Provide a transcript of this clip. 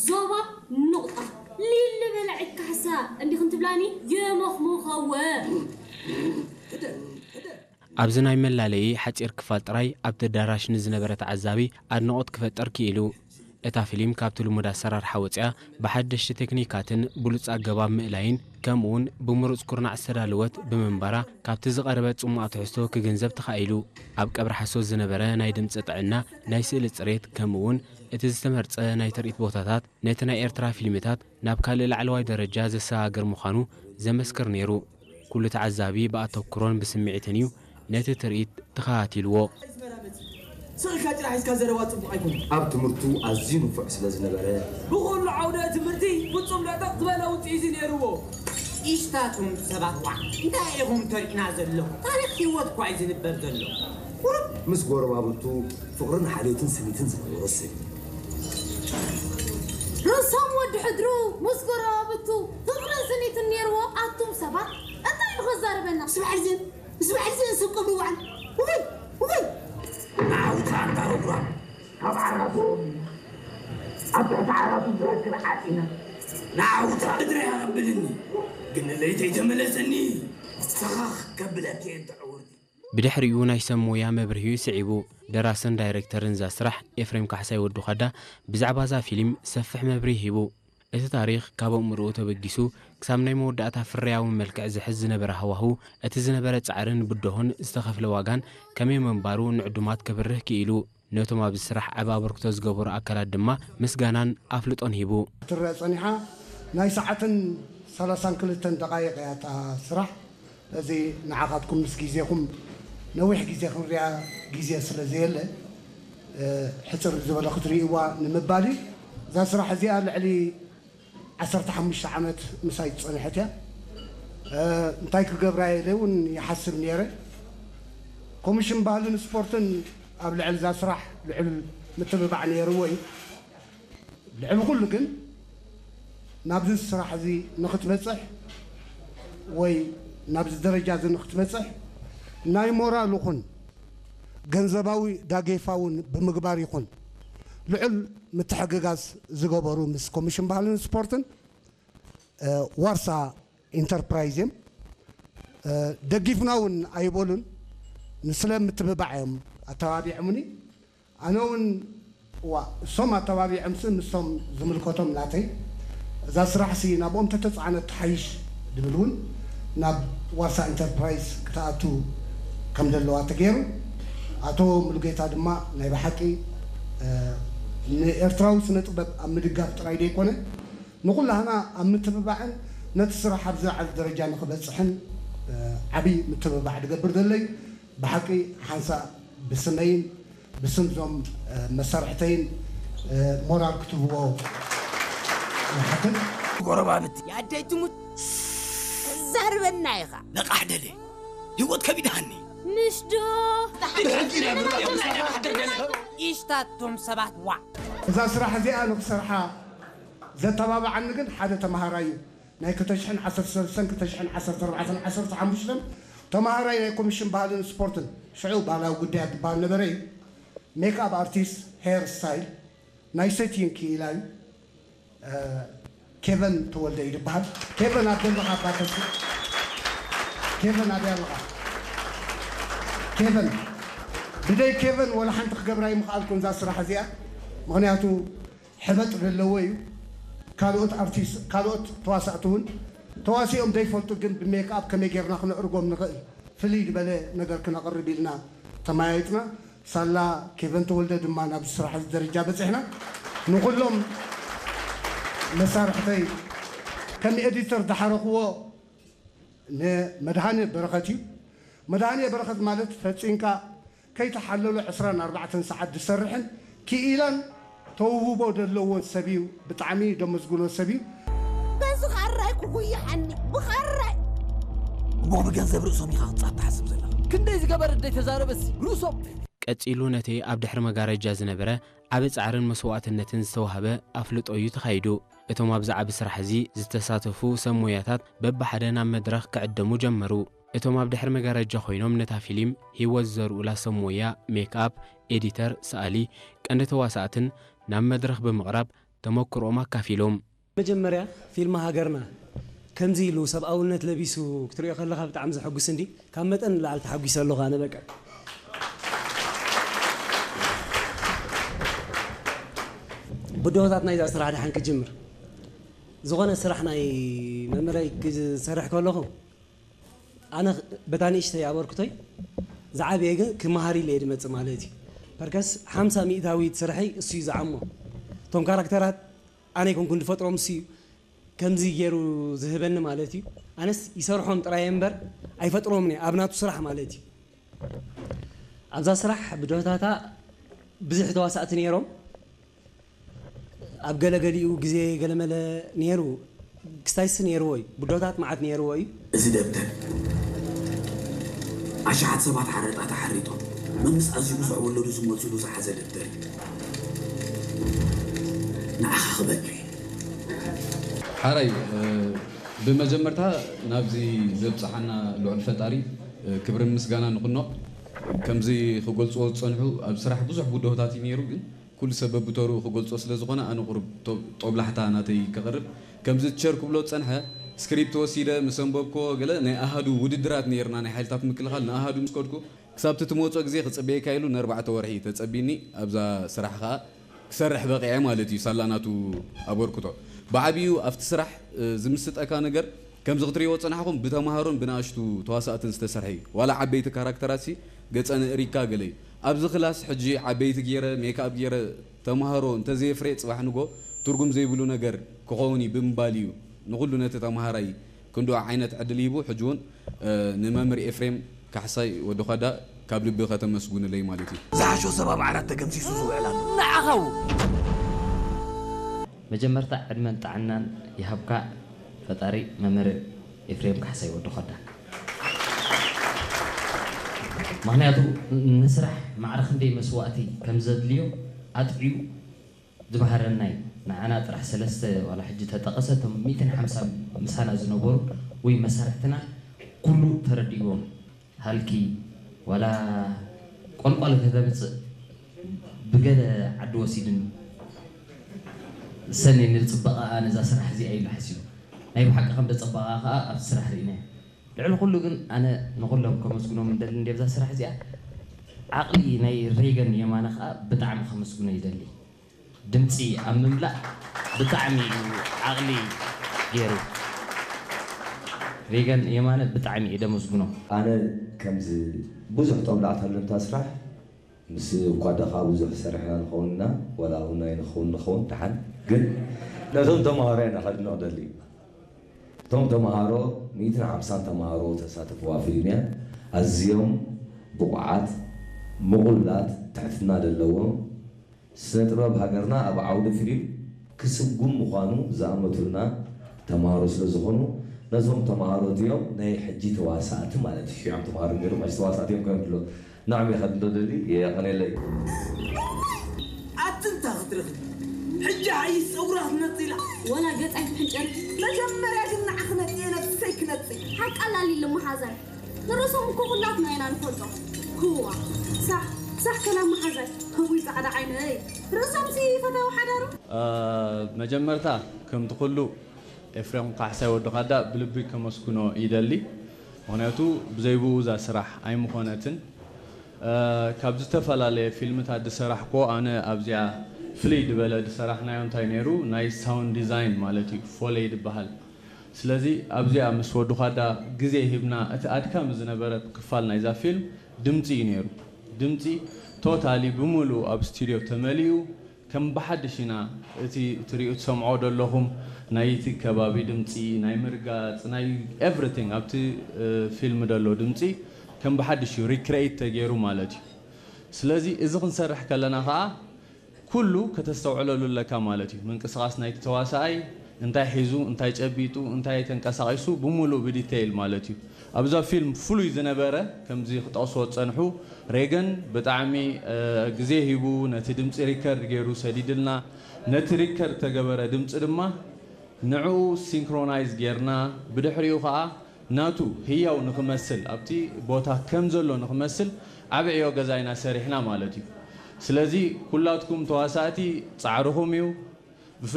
ዞባ ኑቕጣ ሊሊ በላዒት ካሕሳ እንዲኽን ትብላኒ የመኽሙኸወ። ኣብዚ ናይ መላለዪ ሓጺር ክፋል ጥራይ ኣብቲ ኣዳራሽ ንዝነበረ ተዓዛቢ ኣድንቖት ክፈጥር ክኢሉ። እታ ፊልም ካብቲ ልሙድ ኣሰራርሓ ወጺኣ ብሓደሽቲ ቴክኒካትን ብሉጽ ኣገባብ ምእላይን ከምኡውን ብምሩጽ ኩርናዕ ዝተዳለወት ብምንባራ ካብቲ ዝቐረበ ጽሙኣ ትሕዝቶ ክግንዘብ ተኻኢሉ። ኣብ ቀብሪ ሓሶት ዝነበረ ናይ ድምጺ ጥዕና፣ ናይ ስእሊ ጽሬት ከምኡውን እቲ ዝተመርጸ ናይ ትርኢት ቦታታት ነቲ ናይ ኤርትራ ፊልምታት ናብ ካልእ ላዕለዋይ ደረጃ ዘሰጋግር ምዃኑ ዘመስክር ነይሩ። ኩሉ ተዓዛቢ ብኣተኩሮን ብስምዒትን እዩ ነቲ ትርኢት ተኸታቲልዎ። ስቕ ኢልካ ጭራ ሒዝካ ዘረባ ጽቡቕ ኣይኮነን። ኣብ ትምህርቱ ኣዝዩ ንፉዕ ስለ ዝነበረ፣ ብኹሉ ዓውደ ትምህርቲ ፍጹም ለጠቕ ዝበለ ውጽኢት እዩ ነይርዎ። ኢሽታቱም ሰባት ዋዕ እንታይ ኢኹም ተሪእና ዘለኹም? ታሪኽ ህይወት እኳ እዩ ዝንበር ዘሎ። ቁሩብ ምስ ጎረባብቱ ፍቕርን ሓልዮትን ስኒትን ዝነበሮ ሰብ እዩ። ርእሶም ወዲ ሕድሩ ምስ ጎረባብቱ ፍቕርን ስኒትን ነይርዎ። ኣቱም ሰባት እንታይ ኢሉ ከዛርበና? ስብዓል ዘን ስብዓል ዘን ሰብ ቀብሪ ዋዕል ውይ ውይ ንዓውታ ኣንታ ረጉራም ካብ ዓራቱ ኣብ ትሕቲ ዓራቱ ዝረክብ ዓፂና ንዓውታ እድረ ያቐብልኒ ግን ለይተይ ተመለሰኒ ሰኻኽ ከብለኪ እየን ተዕውርቲ ብድሕሪኡ ናይ ሰብ ሞያ መብርሂኡ ስዒቡ። ደራስን ዳይሬክተርን እዛ ስራሕ ኤፍሬም ካሕሳይ ወዲ ዃዳ ብዛዕባ እዛ ፊልም ሰፍሕ መብርሂ ሂቡ። እቲ ታሪኽ ካብ ኣእምሮኡ ተበጊሱ ክሳብ ናይ መወዳእታ ፍርያዊ መልክዕ ዝሕዝ ዝነበረ ሃዋህው፣ እቲ ዝነበረ ጻዕርን ብድሆን ዝተኸፍለ ዋጋን ከመይ ምንባሩ ንዕዱማት ከብርህ ክኢሉ። ነቶም ኣብዚ ስራሕ ዓቢ ኣበርክቶ ዝገበሩ ኣካላት ድማ ምስጋናን ኣፍልጦን ሂቡ። ክትረኣ ጸኒሓ ናይ ሰዓትን ሰላሳን ክልተን ደቓይቕ እያ እታ ስራሕ። እዚ ንዓኻትኩም ምስ ግዜኹም ነዊሕ ግዜ ክንሪኣ ግዜ ስለ ዘየለ ሕጽር ዝበለ ክትርእይዋ ንምባል እዩ። እዛ ስራሕ እዚኣ ልዕሊ ዓሰርተ ሓሙሽተ ዓመት ምሳይ ዝጸንሐት እያ። እንታይ ክገብራ ኢለ እውን ይሓስብ ነይረ። ኮሚሽን ባህልን ስፖርትን ኣብ ልዕሊ እዛ ስራሕ ልዑል ምትብባዕ ነይርዎ እዩ። ልዕሊ ኩሉ ግን ናብዚ ስራሕ እዚ ንክትበፅሕ ወይ ናብዚ ደረጃ እዚ ንክትበፅሕ ናይ ሞራል ይኹን ገንዘባዊ ዳጌፋ እውን ብምግባር ይኹን ልዑል ምትሕግጋዝ ዝገበሩ ምስ ኮሚሽን ባህልን ስፖርትን ዋርሳ ኢንተርፕራይዝ እዮም። ደጊፍና እውን ኣይበሉን፣ ንስለ ምትብባዕ እዮም ኣተባቢዖምኒ። ኣነ እውን እዋ እሶም ኣተባቢዖምሲ ምስቶም ዝምልከቶም ናተይ እዛ ስራሕሲ ናብኦም ተተፃዕነት ትሓይሽ ድብል እውን ናብ ዋርሳ ኢንተርፕራይዝ ክትኣቱ ከም ዘለዋ ተገይሩ። ኣቶ ሙሉጌታ ድማ ናይ ብሓቂ ንኤርትራዊ ስነ ጥበብ ኣብ ምድጋፍ ጥራይ ዘይኮነ ንኹላህና ኣብ ምትብባዕን ነቲ ስራሕ ኣብ ዝለዓለ ደረጃ ንኽበፅሕን ዓብዪ ምትብባዕ ድገብር ዘሎ እዩ። ብሓቂ ሓንሳእ ብስመይን ብስም ዞም መሳርሕተይን ሞራል ክትህብዎ ይሓትት። ጎረባብቲ የኣደይ ትሙት ተዛርበና ኢኻ። ነቓሕ ደለ ህይወት ከቢድሃኒ። ምሽዶ ኢሽታቶም ሰባት ዋዕ እዛ ስራሕ እዚኣ ንክሰርሓ ዘተባብዓኒ ግን ሓደ ተምሃራይ እዩ። ናይ ክልተ ሽሕን ዓሰርተ ሰለስተን ክልተ ሽሕን ዓሰርተ ኣርባዕተን ዓሰርተ ሓሙሽተን ተምሃራይ ናይ ኮሚሽን ባህልን ስፖርትን ሽዑ ባህላዊ ጉዳያት ዝበሃል ነበረ እዩ። ሜክኣፕ ኣርቲስት፣ ሄር ስታይል፣ ናይ ሰቲን ክኢላ እዩ። ኬቨን ተወልደ እዩ ዝበሃል። ኬቨን ኣብ ዘለኻ ባተሲ ኬቨን ኣበይ ኣለኻ? ኬቨን ብደይ ኬቨን ወላ ሓንቲ ክገብራ ይምኽኣልኩ እዛ ስራሕ እዚኣ ምክንያቱ ሕበጥ ዘለዎ እዩ። ካልኦት ኣርቲስት ካልኦት ተዋሳእቲ እውን ተዋሲኦም ዘይፈልጡ ግን ብሜክኣፕ ከመይ ጌርና ክነዕርጎም ንኽእል ፍልይ ዝበለ ነገር ክነቕርብ ኢልና ተመያይጥና። ሳላ ኬቨን ተወልደ ድማ ናብ ስራሕ ደረጃ በፂሕና። ንኩሎም መሳርሕተይ ከም ኤዲተር ዝሓረኽዎ ንመድሃኔ በረኸት እዩ። መድሃኔ በረኸት ማለት ፈፂንካ ከይተሓለሎ ዕስራን ኣርባዕተን ሰዓት ዝሰርሕን ክኢላን ተውህቦ ዘለዎን ሰብ እዩ። ብጣዕሚ ደመስግኖ ሰብ እዩ። በዚ ኻራይ ክጉይሓኒ ብኻራይ እሞ ብገንዘብ ርእሶም ኢኻ ክትጻት ትሓስብ ዘለኻ። ክንደይ ዝገበረ ደይ ተዛረበሲ ርእሶም ቀጺሉ ነቲ ኣብ ድሕሪ መጋረጃ ዝነበረ ዓቢ ጻዕርን መስዋእትነትን ዝተዋህበ ኣፍልጦ እዩ ተኻይዱ። እቶም ኣብዚ ዓቢ ስራሕ እዚ ዝተሳተፉ ሰብ ሞያታት በብሓደ ናብ መድረኽ ክዕደሙ ጀመሩ። እቶም ኣብ ድሕሪ መጋረጃ ኮይኖም ነታ ፊሊም ህይወት ዝዘርኡላ ሰብ ሞያ ሜክኣፕ፣ ኤዲተር፣ ሰኣሊ፣ ቀንዲ ተዋሳእትን ናብ መድረኽ ብምቕራብ ተመክሮኦም ኣካፊሎም። መጀመርያ ፊልም ሃገርና ከምዚ ኢሉ ሰብኣውነት ለቢሱ ክትሪኦ ከለኻ ብጣዕሚ ዘሐጉስ እንዲ ካብ መጠን ንላዕሊ ተሓጒሰ ኣለኹ ኣነ በቃ። ብድሆታት ናይዛ ስራሕ ደሓን ክጅምር ዝኾነ ስራሕ ናይ መምህረይ ክሰርሕ ከለኹ ኣነ በታ ንእሽተይ ኣበርክቶይ ዝዓበየ ግን ክመሃር ኢለ እየ ዝመፅእ ማለት እዩ። ፐርከስ ሓምሳ ሚእታዊት ስርሐይ እሱ እዩ ዝዓሞ። እቶም ካራክተራት ኣነ ኣይኮንኩን ዝፈጥሮም እሱ እዩ ከምዚ ገይሩ ዝህበኒ ማለት እዩ። ኣነስ ይሰርሖም ጥራይ እምበር ኣይፈጥሮምን እየ ኣብ ናቱ ስራሕ ማለት እዩ። ኣብዛ ስራሕ ብድሆታታ ብዙሕ ተዋሳእቲ ነይሮም። ኣብ ገለገሊኡ ግዜ ገለመለ ነይሩ ክስታይስ ነይርዎ እዩ ብድሆታት መዓት ነይርዎ እዩ። እዚ ደብተር ኣሽሓት ሰባት ሓረጣ ተሓሪጦም መምስ ኣዝዩ ብዙሕ ወለዱ ዝመፅሉ ዝሓዘ ደብተር እዩ። ንዓኻ ክበካ እየ። ሓራይ ብመጀመርታ ናብዚ ዘብፅሓና ልዑል ፈጣሪ ክብርን ምስጋናን ይኹኖ። ከምዚ ክገልፅዎ ዝፀንሑ ኣብ ስራሕ ብዙሕ ብድሆታት እዩ ነይሩ ግን ኩሉ ሰብ በብተርኡ ክገልፆ ስለዝኾነ ኣነ ቁሩብ ጦብላሕታ ናተይ ከቕርብ። ከምዚ ቲቸር ክብሎ ዝፀንሐ ስክሪፕት ወሲደ ምስ ኣንበብክዎ ገለ ናይ ኣሃዱ ውድድራት ነይርና ናይ ሓይልታት ምክልኻል ንኣሃዱ ምስ ከድኩ ክሳብ እቲ ትመፅኦ ግዜ ክፅበየካ ኢሉ ንኣርባዕተ ወርሒ ተፀቢኒ ኣብዛ ስራሕ ከዓ ክሰርሕ በቒዐ ማለት እዩ ሳላ ናቱ ኣበርክቶ ብዓብዩ ኣብቲ ስራሕ ዝምስጠካ ነገር ከምዚ ክትሪእዎ ዝጸናሕኹም ብተማሃሮን ብንኣሽቱ ተዋሳእትን ዝተሰርሐ እዩ። ዋላ ዓበይቲ ካራክተራትሲ ገጸ ንእሪካ ገለ እዩ። ኣብዚ ክላስ ሕጂ ዓበይቲ ገይረ ሜክኣፕ ገይረ ተማሃሮ እንተዘየፍርየ ጽባሕ ንግሆ ትርጉም ዘይብሉ ነገር ክኸውን እዩ ብምባል እዩ ንኹሉ ነቲ ተማሃራይ ክንድኡ ዓይነት ዕድል ሂቡ። ሕጂ እውን ንመምህር ኤፍሬም ካሕሳይ ወዲ ዃዳ ካብ ልቢ ከተመስጉንለይ ማለት እዩ። ዝሓሾ ሰብ ኣብ ዓራት ተገምሲሱ ዝውዕል ኣሎ። ንዓኻ እውን። መጀመርታ ዕድመን ጥዕናን ይሃብካ ፈጣሪ መምህር ኤፍሬም ካሕሳይ ወዲ ኾዳ። ምኽንያቱ ንስራሕ ማዕረ ክንደይ መስዋእቲ ከም ዘድልዮ ኣጥዕዩ ዝበሃረና እዩ። ንዓና ጥራሕ ሰለስተ ዋላ ሕጂ ተጠቐሰ እቶም ሚእትን ሓምሳን ምሳና ዝነበሩ ወይ መሳርሕትና ኩሉ ተረዲእዎም። ሃልኪ ዋላ ቆልቋል ከተምፅእ ብገለ ዓዲ ወሲድኒ ሰኒ ንፅበቐኣ ነዛ ስራሕ እዚኣ ኢሉ ሓሲቡ ናይ ብሓቂ ከም ደፀበቐኣ ከዓ ኣብቲ ስራሕ ርኢናዮ ልዕሊ ኩሉ ግን ኣነ ንኩሎም ከመስግኖም እንደሊ እንዲ ኣብዛ ስራሕ እዚኣ ዓቕሊ ናይ ሬገን የማነ ከዓ ብጣዕሚ ከመስግኖ ይደሊ ድምፂ ኣብ ምምላእ ብጣዕሚ እዩ ዓቕሊ ገይሩ ሬገን የማነ ብጣዕሚ እየ ደመስግኖ። ኣነ ከምዚ ብዙሕ ጦብላዕታ ኣሎ ነታ ስራሕ ምስ ኳዳ ከዓ ብዙሕ ሰሪሕና ንኸውን ኢና ዋላ እውን ኣይንኸውን ንኸውን ደሓን ግን ነቶም ተምሃሮ ኢና ከድንቕ ደሊ እቶም ተምሃሮ ሚእትን ሓምሳን ተምሃሮ ተሳተፍዋ ፊልም እያ ኣዝዮም ብቑዓት ምቑላት ትሕትና ዘለዎም ስነ ጥበብ ሃገርና ኣብ ዓውዲ ፊልም ክስጉም ምዃኑ ዝኣመቱልና ተምሃሮ ስለ ዝኾኑ ነዞም ተምሃሮ እዚኦም ናይ ሕጂ ተዋሳእቲ ማለት እዩ ሽዑም ተምሃሮ ነይሮም ሕጂ ተዋሳእቲ እዮም ክብል ንዕም ኢኻ እንዶ ደሊ የቐኔለይ። ኣቲ እንታ ክትረኽቢ ሕጂ ሓይሽ ፀጉራ ክትነፅእ ኢላ። ዋላ ገፃይ ትሕንጨል። መጀመርያ ግን ንዓኺ ነፅየ ነብሰይ ክነፅእ። ሓቃ ላሊ ልመሓዛይ ንርእሶም እኮ ኩላትና ኢና ንፈልጦ። ክዋ ሳሕ ሳሕ ከላ መሓዛይ። እውይ ፃዕዳ ዓይነይ ርእሶምሲ ፈታዊ ሓዳሩ። መጀመርታ ከምቲ ኩሉ ኤፍሬም ካሕሳይ ወዲ ኻዳ ብልቢ ከመስግኖ ይደሊ። ምኽንያቱ ብዘይ ብኡ እዛ ስራሕ ኣይምኾነትን። ካብ ዝተፈላለየ ፊልምታት ዝሰራሕክዎ ኣነ ኣብዚኣ ፍልይ ዝበለ ዝሰራሕናዮ እንታይ ነይሩ ናይ ሳውንድ ዲዛይን ማለት እዩ ፎሌ ዝበሃል። ስለዚ ኣብዚኣ ምስ ወዲ ኻዳ ግዜ ሂብና እቲ ኣድካሚ ዝነበረ ክፋል ናይዛ ፊልም ድምፂ እዩ ነይሩ። ድምፂ ቶታሊ ብምሉኡ ኣብ ስቱድዮ ተመሊኡ ከም ብሓድሽ ኢና እቲ ትሪኡ ትሰምዖ ደለኹም ናይ እቲ ከባቢ ድምፂ ናይ ምርጋፅ ናይ everything ኣብቲ ፊልም ደሎ ድምፂ ከም ብሓድሽ እዩ recreate ተገይሩ ማለት እዩ። ስለዚ እዚ ክንሰርሕ ከለና ከዓ ኩሉ ከተስተውዕለሉ ኣለካ ማለት እዩ። ምንቅስቓስ ናይቲ ተዋሳኣይ እንታይ ሒዙ እንታይ ጨቢጡ እንታይ ተንቀሳቒሱ ብምሉእ ብ detail ማለት እዩ። ኣብዛ ፊልም ፍሉይ ዝነበረ ከምዚ ክጠቕስዎ ዝፀንሑ ሬገን ብጣዕሚ ግዜ ሂቡ ነቲ ድምፂ ሪከርድ ገይሩ ሰዲድልና ነቲ ሪከርድ ተገበረ ድምፂ ድማ ንዕኡ ሲንክሮናይዝ ጌርና ብድሕሪኡ ከዓ ናቱ ህያው ንኽመስል ኣብቲ ቦታ ከም ዘሎ ንኽመስል ዓቢ ዕዮ ገዛ ኢና ሰሪሕና ማለት እዩ። ስለዚ ኩላትኩም ተዋሳእቲ ፃዕርኹም እዩ።